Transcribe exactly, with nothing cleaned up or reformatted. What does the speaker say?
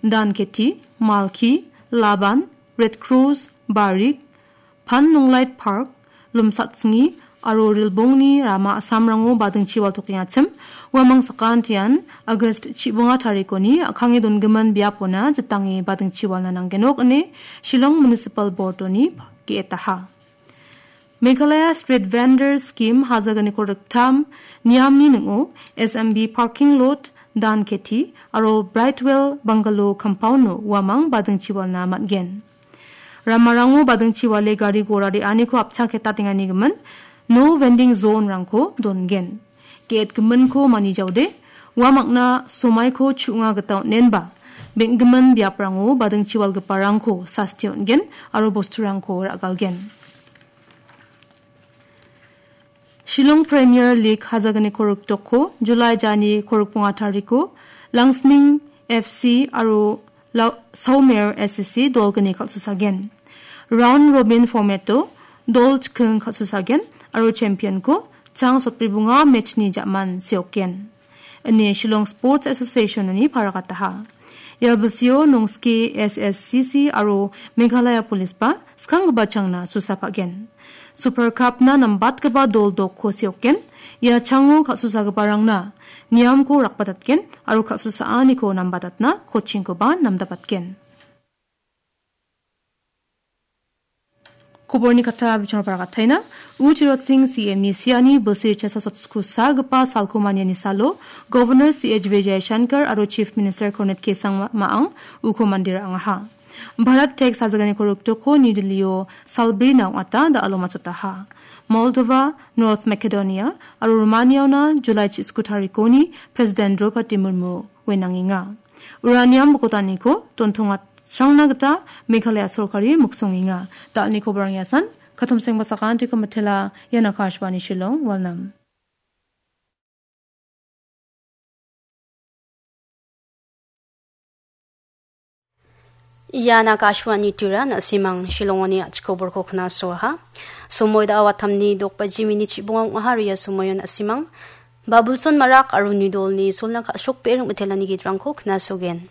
Danketi, Malki, Laban, Red Cross, Barik, Pan Nonglait Park, Lumsatsngi aro Rilbongni rama a·samrango badingchi waltokengachim, uamang sakantian August chibonga tarikoni a·kange dongimin biapona jitange badingchi walna nanggenok ine Shillong Municipal Board-oni ge·etaha. Meghalaya Street Vendors Scheme hajaganiko riktam niamni ning·o S M B Parking Lot, Danketi aro Brightwell Bungalow compound-o uamang badingchi walna man·gen. Ramarango badingchi wale gari gora re·aniko apchang ketatenganigimin no vending zone-rangko dongen. Ge·etgiminko manijaode, uamangna somaiko chu·nga gita on·enba, beng·gimin biaprango badingchi walgiparangko sasti on·gen aro bosturangko ra·galgen. Shillong Premier League hajaganiko rikdoko July jani korikbonga tariko Langsning F C aro La-, Saumer S C dolgni kal·susagen. Round robin format-o dol chiking kal·susagen aro champion-ko chang sotbribonga match-ni ja·man seokgen. Ine Shillong Sports Association-oni paragataha. Ia bilsio Nongske S S C C aro Meghalaya Police-ba skanggipa changna susa pa·gen. Super Cup-na nambatgipa dol dokko seokgen. Ia chango kal·susagiparangna niamko rakbatatgen aro kal·susaaniko nambatatna coaching-koba namdapatgen. Koborni kata bichongrangba rakataina. U Tirot Singh C M-ni siani bilsi richasasotsku sagipa salko maniani salo Governor C H Vijayashankar aro Chief Minister Conrad K Sangma-, Maang uko mandera angaha. Bharat Tech sajaganiko rikdoko New Delhi-o salbrina ong·ata da·alo matchotaha. Moldova, North Macedonia aro Romania-ona July chisku tarikoni President Draupadi Murmu wenangenga. Uranium bokotaniko dontongatrangna gita Meghalaya sorkari miksongenga. Da·alni koborang iasan, katomsengba sakantiko mitela, ian Akashvani Shillong, Walnam. Ian Akashvani Tura, na·simang Shillongoni a·chik koborko knasoaha. Somoi da·a watamni dokbaji minit chibonga ong·aha, ria somoion na·simang Babulson Marak aro Nidolni solna ka·srokbe ring mitelani gitrangko knasogen.